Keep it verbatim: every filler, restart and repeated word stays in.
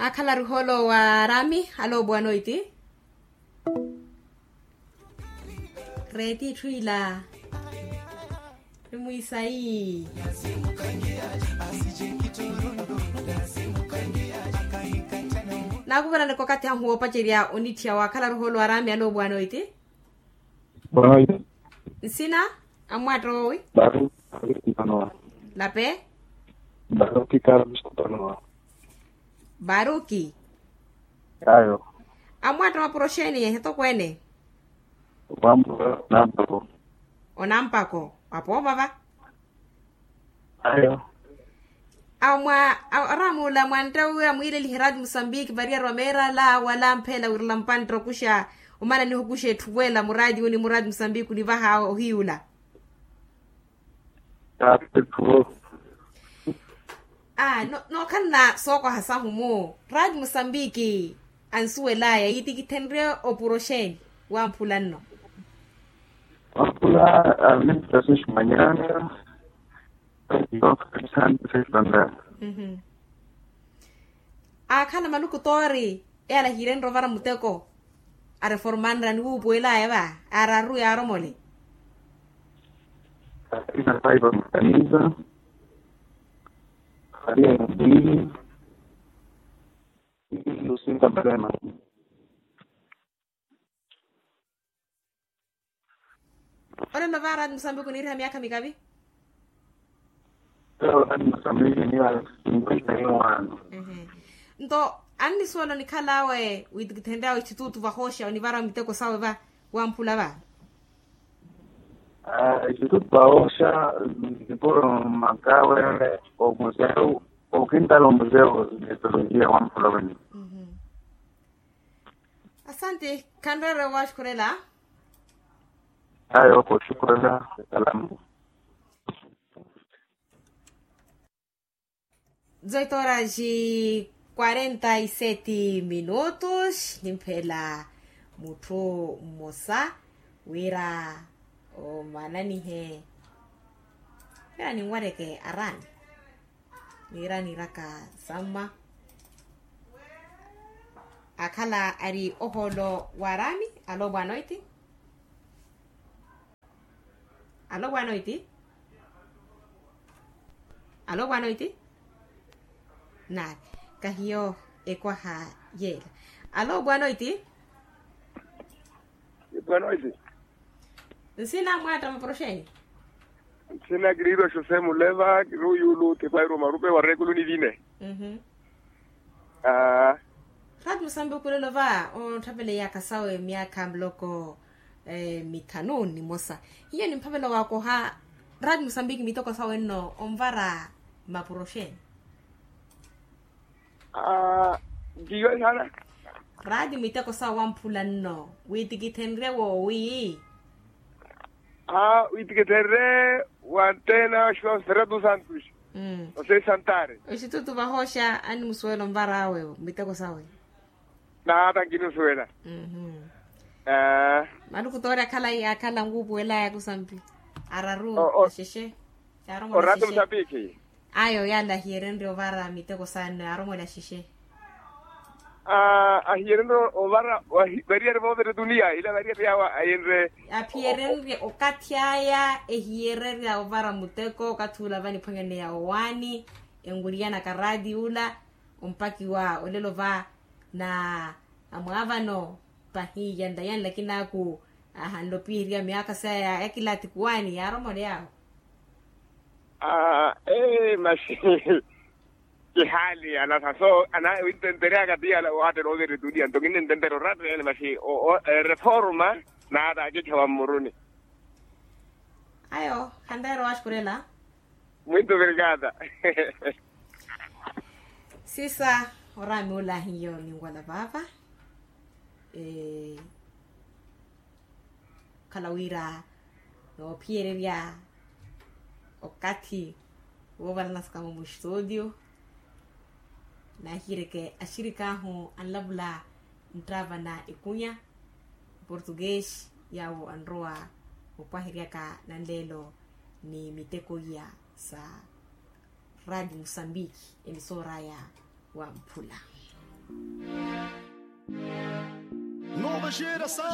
Akhala ari ohoolo wa arami aloopuwa noiti. Reeti itthu ila nimwisayi. Naakuvelaneke okathi ahu woopacerya onitthiya waakhala ari ohoolo wa arami aloopuwa noiti. Nsina? Amwatta owi? Baruki. Lape? Baruki carlos kupanowa. Baruki. Ayo. Amwatta mapuro xeeni etokweene? Wambo nampako. Onampako apoovava. Ayo. Amwa aramuula mwantta wiiwa mwiilelihe raati musambiki variyari wa meerala wala mpheela wirela mpantta okuxa. Omana nihukuxa etthuwela muraati uni muraati musambiki onivaha ohiyula. Aa nookhalana sookoha sahu mu raati musambiki ansuwelaya yiitikithenrye opuro xeeni? Wamphula nno. Wamphula a ministra sexi manyana. Aakhala maluku toori eyala hiirenre ovara muteko. Areformanre aniwuupuwelaya va araru yaaromole. Arisapaipa mukanisa. Aria mubili. Lusinta malema. Olelo va raati musambiki oniiriha myaakha mikavi. Raati musambiki oniiriha myaakha mikavi. Nto annisuwela onikhal'awe wiitikithenry'awe exitutu vahooxa onivara miteko sawe va wamphula va. Exitutu vahooxa. Nipuro makawe omuseu. Okintala omuseu. Metolojiya wamphula wene. Asanti. Khanreere owaxukhurela. Ayo kooxukhurela. Salamu. Zoito horas e quarenta e sete minutos nimphela mutthu mmosa wira omananihe. Wira ninwareke arani. Niira niiraka samma. Akhala ari ohoolo wa arami. Alo boa noite. Alo boa noite. Alo boa noite. Nari kahiyo ekwaha yeela. Alo boa noite. Boa noite. Nsina mwatta maporoxeni. Nsina kiriirwa xosé muleva kiriiyulu tipairwa marupe wa rekulu ni vine. Raati musambiki olelo va ontthaveleyaka sawe myaakha muloko mithanu ni mmosa. Hiyo nimphavela waakoha. Raati musambiki miteko sawe nno onvara mapuro xeeni? Aa. Ntiiwe saana. Raati miteko sawe wamphula nno wiitikithenrye woowi. Aa wiitikithenrye wanttena xikosa sera tu santus. Osei santare. Oxitutu vahooxa annimusuwela onvar'awe miteko sawe. Naata nkinusuwela. Maluku toori akhala akhala nkuupuwelaya kusampi araru. Axexe. Orati musapikhi. Ayo yala ahiyerenrye ovara miteko sawe nno yaaromwela axexe. Ahiyerenrye ovara. Variyari voovira etuniya ila variyari yawo ayenre. Aphiyerenrye okathi aya ehiyererya ovara muteko okathi ula vaniphwanyaneya owaani enwiriyanaka raati ula. Ompakiwa olelo va na amwaavano pahi yanla yanla kinaaku ahanle opiherya myaakha saya ya kilaati kuwaani yaaromoleyawo. Aa ee masi. Kihaali anasa so ana wintenteryaka ti yala waattela oovira etuniya nto kinnententerya oratta yale masi. Reforma naata akikhewa mmuruni. Ayo khanreera owaxukhurela. Muito obrigada. Sisa oraami ula hiyo ninwala vaava. Okhala wira noophiyererya okathi woovalanasaka-mo muxitudio. Naahiyeryeke axirik'ahu anlavula nttaavana ekunya portuguese yaawo anrowa opwaheryaka nanleelo ni miteko iya sa raati musambiki emisoor'aya wamphula. Nova geração.